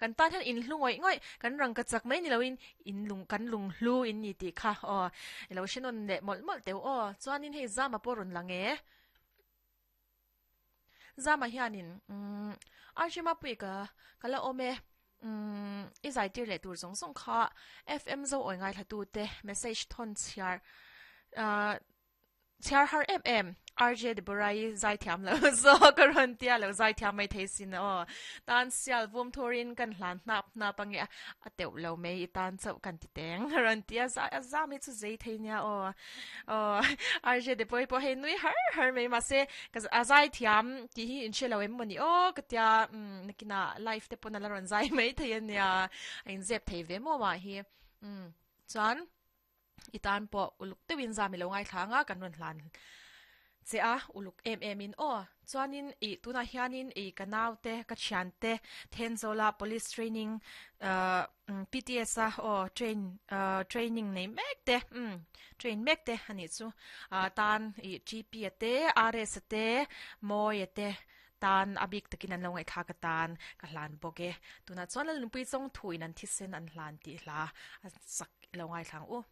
Kan tan hian in hlu ngawih ngawih, kan rangka chak mai ni loin in lung kan lung hlu in ni tih kha aw i lo hre nawn leh mawlh mawlh teuh aw. Chuanin hei Zama pawh rawn lang e. Zama hianin umm RJ Mapui ka ka la awm e umm i zai tir leh tur zawng zawng kha FM zo awi ngaithla tu te message thawn chhiar ah Chhiar har em em, RJ Deborah-i zaithiam lo zawk a rawn tia lo zaithiam mai thei sin aw. Tan sial vum thurin kan hlan hnap hnap ange a, a teuh lo mai i tan chauh kan ti teng a rawn tia zai a zam hi chu zei thei nia aw. Aw RJ Deborah-i pawh hei nui har har mai mahse ka a zaithiam tih hi in hre lo em mawni aw ka tia umm nakinah live te pawn a la rawn zai mai thei ania a inzep thei ve maw mah hi umm chuan. I tan pawh uluk deuhin zam i lo ngaithla ang a, kan rawn hlan che a, uluk em em in aw. Chuanin ih tunah hianin ih ka naute, ka thiante Thenzawl-a Police Training ahh PTS a aw train ahh training nei mek te umm train mek te a nih chu ah tan ih TP a te, RS a te, Mawia te tan a bik takin an lo ngaihthlak atan ka hlan bawk e. Tunah chuan Lalnunpui Chawngthuin an thisen an hlan tih hla a sak i lo ngaithla ang u.